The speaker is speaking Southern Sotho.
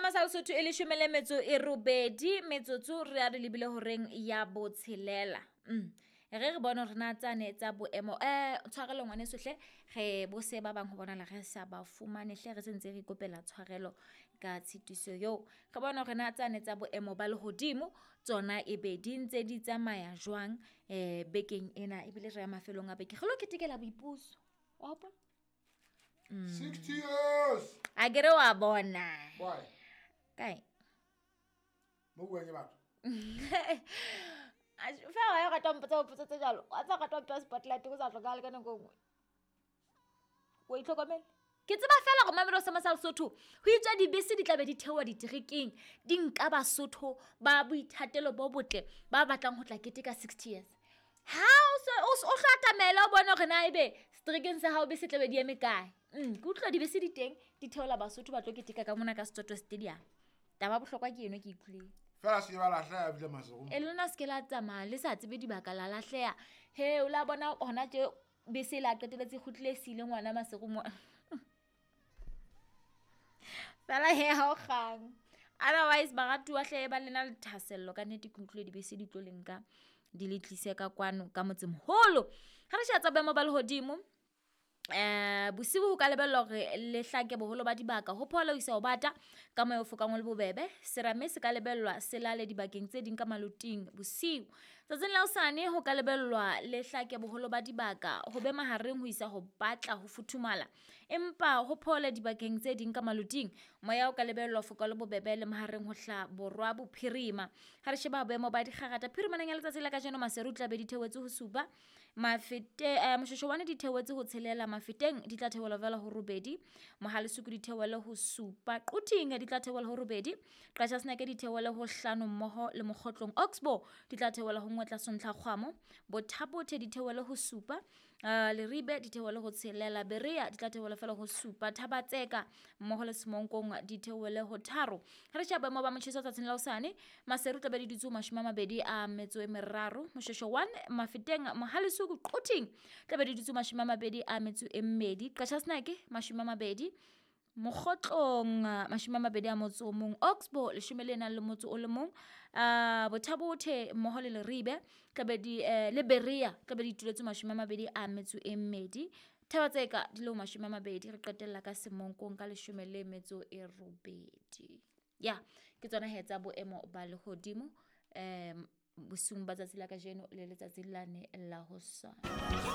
Sama sa Lesotho e leshome le metso e robedi metsotso re a re lebile horeng ya botshelela. Re re bone hore na tsane tsa boemo tshwarelo ngwaneso hle, re bo se ba bang ho bonahala re sa ba fumane hle, re sentse re ikopela tshwarelo ka tshitiso eo. Re bone hore na tsane tsa boemo ba lehodimo tsona ebe di ntse di tsamaya jwang bekeng ena, ebile re ya mafelong a beke, re lo ketekela boipuso wa hopola. 60 years. A ke re wa bona Why? Kae? Mo buang ke batho. Fela wa ya rata mpotsa potso tse jalo, wa tsa rata mpea spotlight go sa tlhokagale ka nako e nngwe. O itlhokomele. Ke tseba fela gore Mamelodi sa sa Lesotho ho itswa dibese di tla be di theoha diterekeng, di nka Basotho ba boithatelo bo botle ba batlang ho tla keteka 60 years. Ha o se o hlo atamela o bone hore na ebe seterekeng sa hao bese tla be di eme kae. Ke utlwa dibese di teng di theola Basotho ba tlo keteka ka mona ka Setotwe Stadium. Taba ya bohlokwa ke eno ke utlwileng. Fela se ke ba lahleha ebile Maseru. E lona se ke la tsamaya le sa tsebe dibaka la lahleha. He o la bona hona tje bese e la qetelletse e kgutlile e siile ngwana Maseru mo. Fela he ha o kgang. Otherwise baratuwa hle ba lena le thahasello ka nnete, ke utlwile dibese di tlo le nka di le tlise ka kwano ka motsemoholo. Ha re sheba tsa boemo ba lehodimo, bosiu ho ka lebellwa hore le hlake boholo ba dibaka, ho phola ho isa ho bata ka moya o fokang o le bobebe. Serame se ka lebellwa se lale dibakeng tse ding ka maloting bosiu. Tsatsing la hosane ho ka lebellwa le hlake boholo ba dibaka, ho be mahareng ho isa ho batla ho futhumala, empa ho phole dibakeng tse ding ka maloting. Moya o ka lebellwa ho foka le bobebe le mahareng ho hla borwa bophirima. Ha re sheba boemo ba dikgarata phirimaneng ya letsatsi la kajeno, Maseru tla be di theohetse ho supa, Mafete Moshoeshoe di theohetse ho tshelela, Mafeteng di tla theohela fela ho robedi, Mohalesuku di theohele ho supa, Quthing di tla theohela ho robedi, Qachaseneke di theohele ho hlano mmoho le Mokgotlong, Oxbow di tla theohela ho nngwe tlase ntlha kgwamo, Bothabothe di theohele ho supa, Leribe di theohele ho tshelela, Berea di tla theohela fela ho supa, Thabatseka mmoho le Semonkong di theohele ho tharo. Ha re sheba boemo ba motjheso tsatsing la hosane, Maseru tla be di dutse ho 23, Moshoeshoe 1, Mafeteng, Mohalesuku, Quthing tla be di dutse ho 22, Qachaseneke 20, Mokgotlong 21, Oxbow 11, Bothabothe mmoho le Leribe tla be di le Berea tla be di ituletse 22, Thabatseka di le ho 20, re qetella ka Semonkong ka 18. Ya ke tsona he tsa boemo ba lehodimo bosiung ba tsatsi la kajeno le letsatsi lane la hosane.